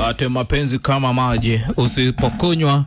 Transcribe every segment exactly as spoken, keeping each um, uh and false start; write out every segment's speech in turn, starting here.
Ate mapenzi kama maji, usipokunywa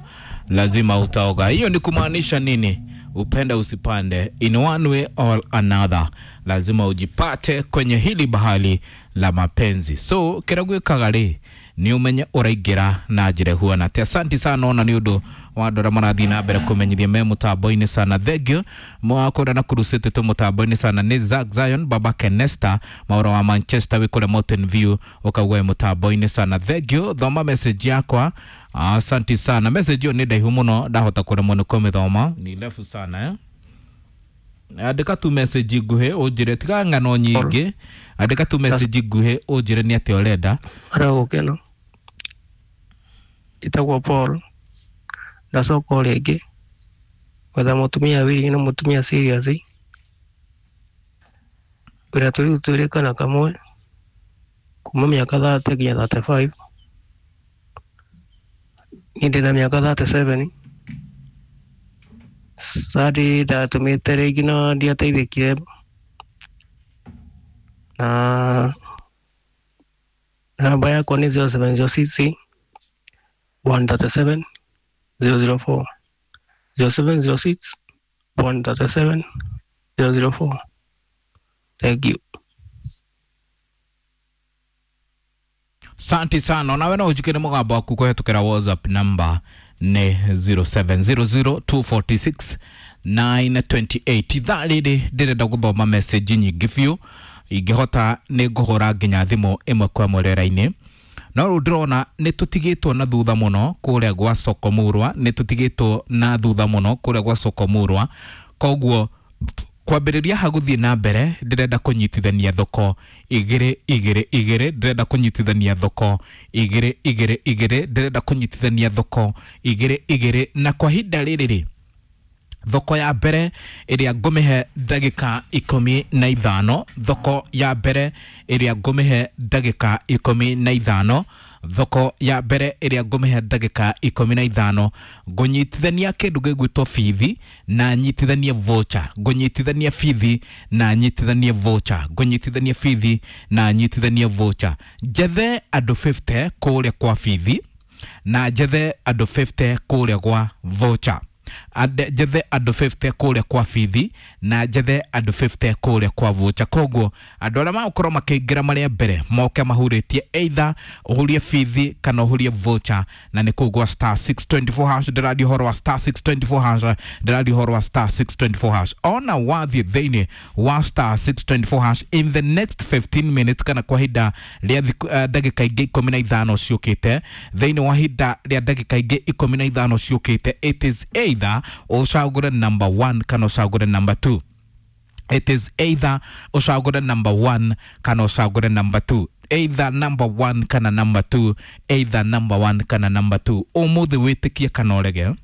lazima utaoga. Hiyo ni kumaanisha nini? Upende usipande, in one way or another, lazima ujipate kwenye hili bahali la mapenzi. So kĩrĩa gwĩkaga rĩ nĩ ũmenye ũraingĩra na njĩra ĩhuana atĩa. Asanti sana ona nĩ ũndũ wa andũ arĩa marathiĩ na mbere kũmenyithia me mũtambo-inĩ sana. Thank you mwakũrĩa na kurucĩte tũ mũtambo-inĩ sana. Nĩ Zack Zion, Baba Kenesta Maũra wa Manchester wĩ kũrĩa Mountain View, ũkaugua wĩ mũtambo-inĩ sana. Thank you. Thoma message yakwa. Asanti sana. Message ĩyo nĩ ndaihu mũno, ndahota kũremwo nĩ kũmĩthoma, ni ndefu sana eh? Andĩka tu message nguhĩ ũnjĩre, tiga ng'ano nyingĩ. Andĩka tu message nguhĩ ũnjĩre nĩ atĩa ũrenda. Aragũkena njĩtagwo Paul, ndacoka o rĩngĩ gwetha mũtumia wili na mũtumia serious wĩra tũrĩu twĩrĩ kana kamwe kuma mĩaka thate nginya thirty five. Niĩ ndĩna mĩaka thirty seven. Sadi ndatũmĩte rĩngĩ na ndiateithĩkire na namba yakwa nĩ zero seven zero six one thirty seven zero zero four zero seven zero six one thirty seven zero zero four. Thank you. Santi sana. Nawe no ũnjĩkĩre mũgambo waku kũhetũkĩra WhatsApp number nĩ zero seven zero zero two four six nine two eight. Ithaa rĩrĩ ndĩrenda gũthoma message nyingĩ biũ, ingĩhota nĩ ngũhũra nginya thimũ ĩmwe kwa ĩmwe rĩera-inĩ. No rĩu ndĩrona nĩ tũtigĩtwo na thutha mũno kũrĩa gwa soko Murwa, nĩ tũtigĩtwo na thutha mũno kũrĩa gwa soko Murwa. Koguo kwambĩrĩria ha gũthiĩ na mbere ndĩrenda kũnyitithania thoko igĩrĩ igĩrĩ igĩrĩ, ndĩrenda kũnyitithania thoko igĩrĩ igĩrĩ igĩrĩ, ndĩrenda kũnyitithania thoko igĩrĩ igĩrĩ. Na kwa ihinda rĩrĩ rĩ, thoko ya mbere ĩrĩa ngũmĩhe ndagĩka ikũmi na ithano, thoko ya mbere ĩrĩa ngũmĩhe ndagĩka ikũmi na ithano, thoko ya mbere ĩrĩa ngũmĩhe ndagĩka ikũmi na ithano, ngũnyitithania kĩndũ gĩgwĩtwo bithi na nyitithanie voucher, ngũnyitithania bithi na nyitithanie voucher, ngũnyitithania bithi na nyitithanie voucher. Njethe andũ fifty kũrĩa kwa bithi na njethe andũ fifty kũrĩa gwa voucher. Ande, njethe andũ fifty kũrĩa kwa bithi na njethe andũ fifty kũrĩa kwa voucher. Koguo andũ arĩa magũkorwo makĩingĩra marĩa mbere moke mahurĩtie either ũhurie bithi kana ũhurie voucher, na nĩ kũu gwa star six twenty four hash. Ndĩraria ũhoro wa star six twenty four hash, ndĩraria ũhoro wa star six twenty four hash. Ona wathiĩ thĩinĩ wa star six twenty four hash in the next fifteen minutes, kana kwa ihinda rĩa thikũ, eh, ndagĩka ingĩ ikũmi na ithano ciũkĩte, thĩinĩ wa ihinda rĩa ndagĩka ingĩ ikũmi na ithano ciũkĩte, it is either ũcagũre number one kana ũcagũre number two. It is either ũcagũre number one kana ũcagũre number two. Either number one kana number two. Either number one kana number two. Ũmũthĩ wĩtĩkie kana ũrege,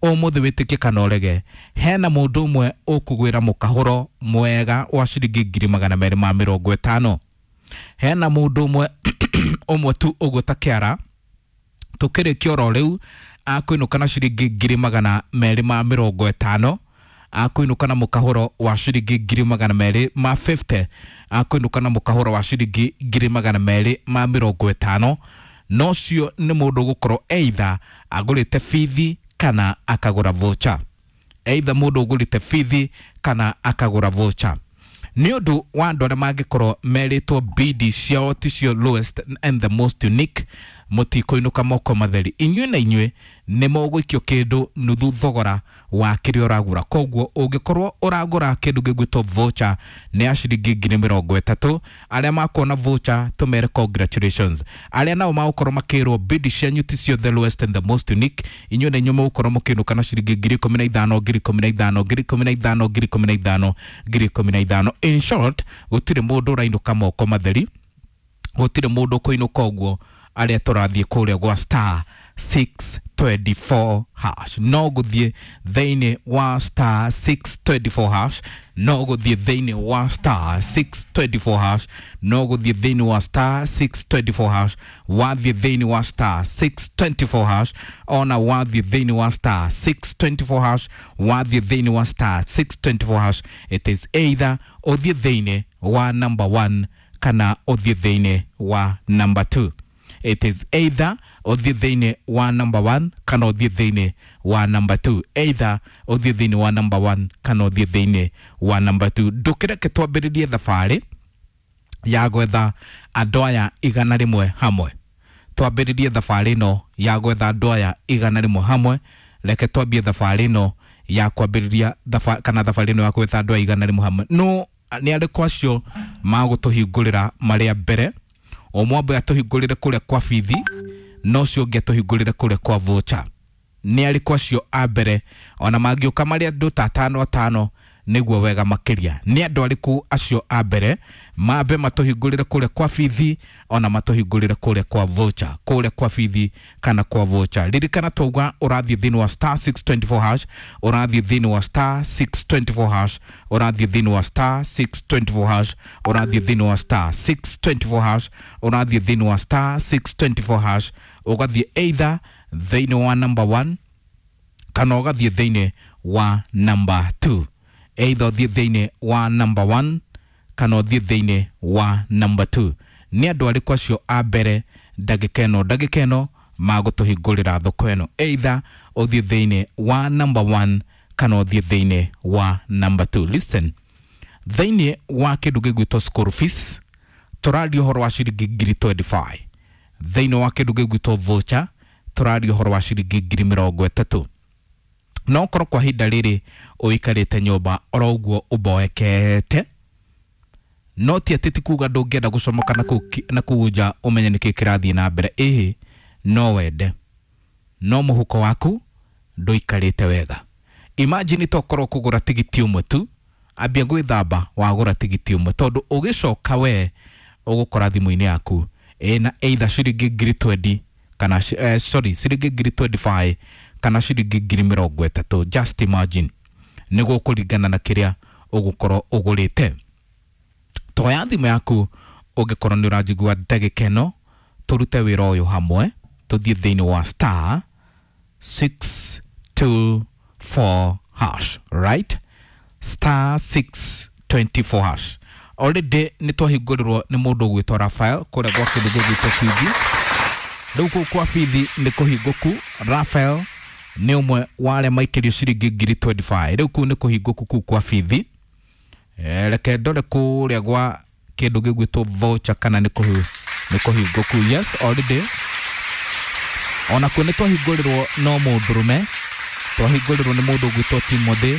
ũmũthĩ wĩtĩkie kana ũrege, hena mũndũ ũmwe ũkũgwĩra mũkahũro mwega wa ciringi ngiri magana merĩ ma mĩrongo ĩtano. Hena mũndũ ũmwe ũmwe tu ũgũta kĩara tũkĩrĩkia oro rĩu akũinũka na ciringi ngiri magana merĩ ma mĩrongo ĩtano, akũinũka na mũkahũro wa ciringi ngiri magana merĩ ma fifty, akũinũka na mũkahũro wa ciringi ngiri magana merĩ ma mĩrongo ĩtano. No cio nĩ mũndũ ũgũkorwo either agũrĩte bithi kana akagũra voucher, either mũndũ ũgũrĩte bithi kana akagũra voucher. Nĩ ũndũ wa andũ arĩa mangĩkorwo merĩtwo bidi ciao ticio lowest and the most unique, mũtikũinũka moko matheri. Inyuĩ na inyuĩ nĩ mũgũikio kĩndũ nuthu thogora wa kĩrĩa ũragũra. Koguo ũngĩkorwo ũragũra kĩndũ gĩgwĩtwo voucher nĩ ya ciringi ngiri mĩrongo ĩtatũ, arĩa makuona voucher tũmere congratulations. Arĩa nao magũkorwo makĩrwo bidi cianyu ticio the lowest and the most unique, inyuĩ na inyuĩ mũgũkorwo mũkĩinũka na ciringi ngiri ikũmi na ithano, ngiri ikũmi na ithano, ngiri ikũmi na ithano, ngiri ikũmi na ithano, ngiri ikũmi na ithano. In short, gũtirĩ mũndũ ũrainũka moko matheri, gũtirĩ mũndũ ũkũinũka ũguo arĩa tũrathiĩ kũrĩa gwa star six twenty four hash. No gũthiĩ thĩinĩ wa star six twenty four hash, no gũthiĩ thĩinĩ wa star six twenty four hash, no gũthiĩ thĩinĩ wa star six twenty four hash, wathiĩ thĩinĩ wa star six twenty four hash, ona wathiĩ thĩinĩ wa star six twenty four hash, wathiĩ thĩinĩ wa star six twenty four hash. It is either ũthiĩ thĩinĩ wa number one kana ũthiĩ thĩinĩ wa number two. It is either ũthiĩ thĩinĩ wa number one kana ũthiĩ thĩinĩ wa number two, either ũthiĩ thĩinĩ wa number one kana ũthiĩ thĩinĩ wa number two. Ndũkĩreke twambĩrĩrie thabarĩ ya gwetha andũ aya igana rĩmwe hamwe. Twambĩrĩrie thabarĩ ĩno ya gwetha andũ aya igana rĩmwe hamwe. Reke twambie thabarĩ ĩno ya kwambĩrĩria thabarĩ kana thabarĩ ĩno ya gwetha andũ aya igana rĩmwe hamwe. No nĩ arĩkũ acio magũtũhingũrĩra marĩa mbere? Ũmwe ambe atũhingũrĩre kũrĩa kwa bithi, na ũcio ũngĩ atũhingũrĩre kũrĩa kwa voucher. Nĩ arĩkũ acio a mbere? Ona mangĩũka marĩ andũ ta atano atano nĩguo wega makĩria. Nĩ andũ arĩkũ acio a mbere mambe matũhingũrĩre kũrĩa kwa bithi, ona matũhingũrĩre kũrĩa kwa voucher, kũrĩa kwa bithi kana kwa voucher? Ririkana twauga ũrathiĩ thĩinĩ wa star six twenty four hash, ũrathiĩ thĩinĩ wa star six twenty four hash, ũrathiĩ thĩinĩ wa star six twenty four hash, ũrathiĩ thĩinĩ wa star six twenty four hash, ũrathiĩ thĩinĩ wa star six twenty four hash, ũgathiĩ either thĩinĩ wa number one kana ũgathiĩ thĩinĩ wa number two. Either ũthiĩ thĩinĩ wa number one kana ũthiĩ thĩinĩ wa number two. Nĩ andũ arĩkũ acio a mbere ndagĩka ĩno ndagĩka ĩno magũtũhingũrĩra thoko ĩno? Either ũthiĩ thĩinĩ wa number one kana ũthiĩ thĩinĩ wa number two. Listen, thĩinĩ wa kĩndũ gĩgwĩtwo school fees tũraria ũhoro wa ciringi ngiri twenty five. Thĩinĩ wa kĩndũ gĩgwĩtwo voucher tũraria ũhoro wa ciringi ngiri mĩrongo ĩtatũ. No ũkorwo kwa ihinda rĩrĩ ũikarĩte nyũmba oro ũguo ũmboekete, no ti atĩ ti kuga ndũngĩenda gũcomoka na kũu nja ũmenye nĩkĩ kĩrathiĩ na mbere. Ĩhĩ, no wende, no mũhuko waku ndũikarĩte wega. Imagine tokorwo kũgũra tigiti ũmwe tu, ambia gwĩthamba wagũra tigiti ũmwe, tondũ ũgĩcoka we ũgũkora thimũ-inĩ yaku ĩna either ciringi ngiri twenty kana eh, sorry ciringi ngiri twenty five kana ciringi ngiri mĩrongo ĩtatũ. Just imagine, nĩguo kũringana na kĩrĩa ũgũkorwo ũgũrĩte. Toya thimũ yaku ũngĩkorwo nĩ ũranjigua ndagĩka ĩno, tũrute wĩra ũyũ hamwe, tũthiĩ thĩinĩ wa star six two four hash, right? Star six twenty four hash. Already nĩ twahingũrĩrwo nĩ mũndũ ũgwĩtwo Raphael kũrĩa gwa kĩndũ gĩgwĩtwo bithi. Rĩu kũu kwa bithi nĩ kũhingũku. Raphael nĩ ũmwe wa arĩa maikĩrio ciringi ngiri twenty five. Rĩu kũu nĩ kũhingũku kũu kwa bithi. Reke ndore kũrĩa gwa kĩndũ gĩgwĩtwo voucher kana nĩ kũhingũku. Yes, already onakuo nĩ twahingũrĩrwo no mũndũrũme. Twahingũrĩrwo nĩ mũndũ ũgwĩtwo Timothy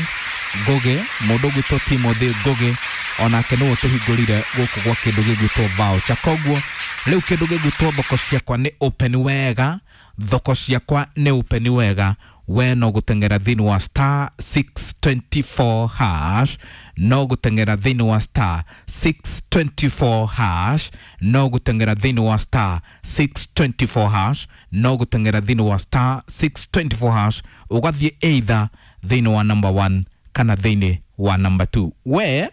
Ngũgĩ, mũndũ ũgwĩtwo Timothy Ngũgĩ onake nĩwe tũhingũrire gũkũ gwa kĩndũ gĩgwĩtwo voucher. Koguo rĩu kĩndũ gĩgwĩtwo thoko ciakwa nĩ open wega, thoko ciakwa nĩ open wega. We no gũteng'era thĩinĩ wa star six twenty four hash, no gũteng'era thĩinĩ wa star six twenty four hash, no gũteng'era thĩinĩ wa star six twenty four hash, no gũteng'era thĩinĩ wa star six twenty four hash, ũgathiĩ either thĩinĩ wa number one kana thĩinĩ wa number two. We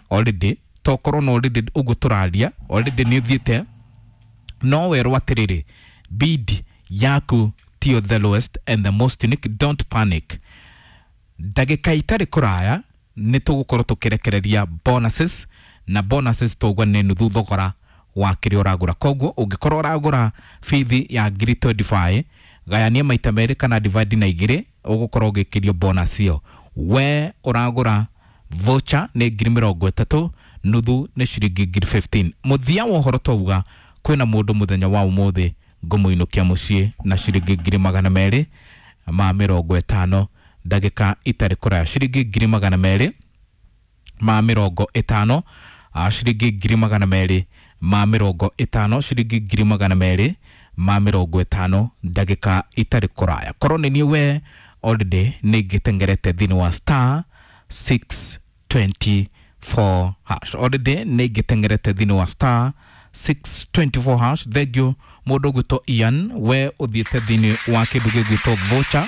already tokorwo no already ũguo tũraria already nĩ ũthiĩte, no werwo atĩrĩrĩ, bid yaku tiyo the lowest and the most unique. Don't panic. Ndagĩka itarĩ kũraya nĩ tũgũkorwo tũkĩrekereria bonuses, na bonuses tũgwa nĩ nuthu thogora wa kĩrĩa ũragũra. Koguo ũngĩkorwo ũragũra bithi ya ngiri twenty five, gayania maita merĩ kana divide na igĩrĩ, ũgũkorwo ũgĩkĩrio bonus ĩyo. We ũragũra voucher nĩ ngiri mĩrongo ĩtatũ, nuthu nĩ ciringi ngiri fifteen. Mũthia wa ũhoro twauga kwĩna mũndũ mũthenya wa ũmũthĩ ngũmũinũkia mũciĩ na ciringi ngiri magana merĩ ma mĩrongo ĩtano ndagĩka itarĩ kũraya. Ciringi ngiri magana merĩ ma mĩrongo ĩtano, ciringi ngiri magana merĩ ma mĩrongo ĩtano, ciringi ngiri magana merĩ ma mĩrongo ĩtano ndagĩka itarĩ kũraya. Korwo nĩ niĩ we already nĩ ingĩtengerete thĩinĩ wa star six twenty four hash. Already nĩ ingĩtengerete thĩinĩ wa star six twenty four hash. Thank you mũndũ ũgwĩtwo Ian, we ũthiĩte thĩinĩ wa kĩndũ gĩgwĩtwo voucher,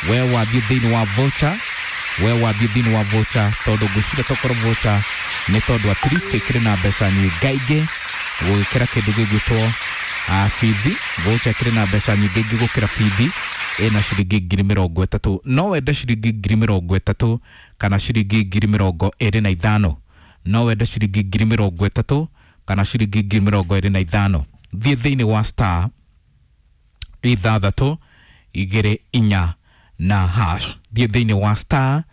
we wathiĩ thĩinĩ wa voucher, we wathiĩ thĩinĩ wa voucher, tondũ ngwĩciria tokorwo voucher nĩ tondũ at least ĩkĩrĩ na mbeca nyingaingĩ gũgĩkĩra kĩndũ gĩgwĩtwo bithi. Voucher ĩkĩrĩ na mbeca nyingaingĩ gũkĩra bithi, ĩna ciringi ngiri mĩrongo ĩtatũ. No wende ciringi ngiri mĩrongo ĩtatũ kana ciringi ngiri mĩrongo ĩrĩ na ithano. No wende ciringi ngiri mĩrongo ĩtatũ kana ciringi ngiri mĩrongo ĩrĩ na ithano. Thiĩ thĩinĩ wa star ithathatũ igĩrĩ inya na hash. Thiĩ thĩinĩ wa star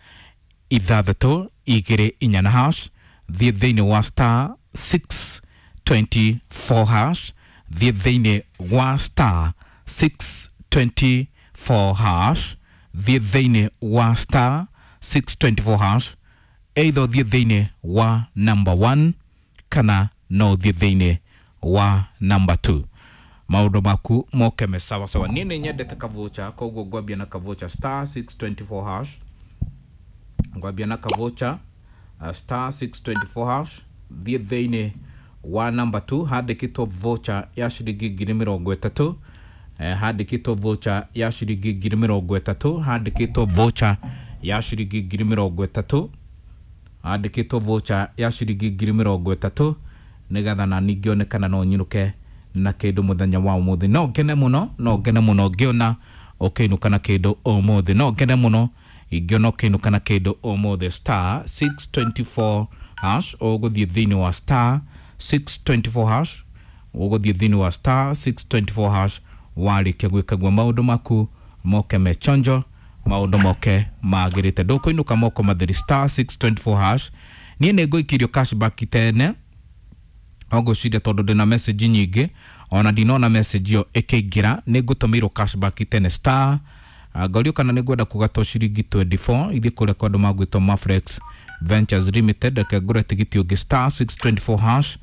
ithathatũ igĩrĩ inya na hash. Thiĩ thĩinĩ wa star six twenty-four hash. Thiĩ thĩinĩ wa star six twenty-four hash. Thiĩ thĩinĩ wa star six twenty-four hash, either ũthiĩ thĩinĩ wa number one kana no ũthiĩ thĩinĩ wa number two, maũndũ maku moke me sawa sawa. Niĩ nĩ nyendete kavocha, koguo ngwambia na kavocha, star six twenty-four hash. Ngwambia na kavocha, uh, star six twenty-four hash. Thiĩ thĩinĩ wa number two, handĩkĩtwo voucher ya ciringi ngiri mĩrongo ĩtatũ. eh, handĩkĩtwo voucher ya ciringi ngiri mĩrongo ĩtatũ. Handĩkĩtwo voucher ya ciringi ngiri mĩrongo ĩtatũ. Handĩkĩtwo voucher ya ciringi ngiri mĩrongo ĩtatũ, nĩgetha na ningĩ kana no nyinũke na kĩndũ mũthenya wa ũmũthĩ. No ngene mũno, no ngene mũno ngĩona ũkĩinũka na kĩndũ ũmũthĩ. No ngene mũno ingĩona ũkĩinũka na kĩndũ ũmũthĩ. Star six twenty-four hash. Ũgũthiĩ thĩinĩ wa star six twenty-four hash. Ũgũthiĩ thĩinĩ wa star six twenty-four hash. Warĩkia gwĩka guo, maũndũ maku moke me chonjo, maũndũ moke magĩrĩte, ndũkũinũka moko matheri. Star six twenty-four hash. Niĩ nĩ ngũikĩrio cashback tene ogwĩciria, tondũ ndĩna message nyingĩ, ona ndinona message ĩyo ĩkĩingĩra. Nĩ ngũtũmĩirwo cashback tene. Star, ngorio kana nĩ ngwenda kũgatwo ciringi mĩrongo ĩĩrĩ na inya ithiĩ kũrĩa kwa andũ magwĩtwo Mafrex Ventures Limited. Reke ngũre tigiti ũngĩ, star six twenty-four hash.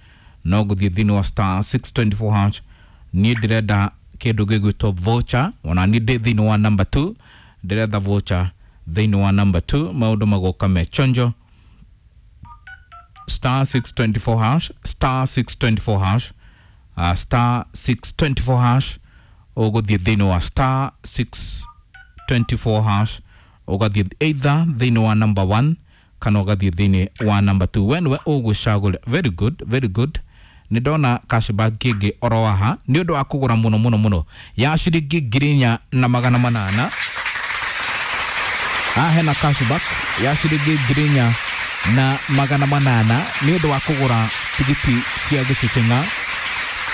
No ngũthiĩ thĩinĩ wa star six twenty-four hash. Niĩ ndĩrenda kĩndũ gĩgwĩtwo voucher, ona niĩ ndĩ thĩinĩ wa number two. Ndĩretha voucher thĩinĩ wa number two, maũndũ magoka me chonjo. Star six twenty-four hash, star six twenty-four hash, uh, star six twenty-four hash. Ũgũthiĩ thĩinĩ wa star six twenty-four hash, ũgathiĩ either thĩinĩ wa number one kana ũgathiĩ thĩinĩ wa number two. We nĩwe ũgũcagũra. Very good, very good. Nĩ ndona cashback ĩngĩ oro haha nĩ ũndũ wa kũgũra mũno mũno mũno, ya ciringi ngiri inya na magana manana. Haha hena cashback ya ciringi ngiri inya na magana manana nĩ ũndũ wa kũgũra tigiti cia gĩcũcũng'a,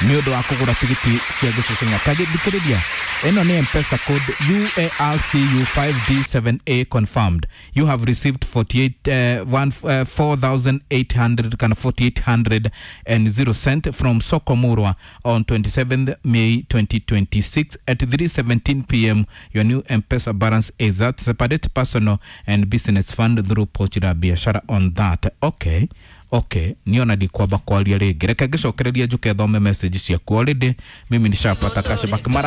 nĩ ũndũ wa kũgũra tigiti cia gĩcũcũng'a. Tagĩthikĩrĩria, ĩno nĩ M-Pesa code U A R C U five D seven A confirmed. You have received forty-eight, uh, one, uh, four thousand eight hundred kana four thousand eight hundred and zero cent from Soko Murwa on twenty-seventh May twenty twenty-six at three seventeen p m. Your new M-Pesa balance is at separate personal and business fund through Pochi la Biashara on that. Okay, okay, niona ndikwamba kwaria rĩngĩ, reke ngĩcokereria njuke thome message ciaku. Already mimi nishapata cashback mara.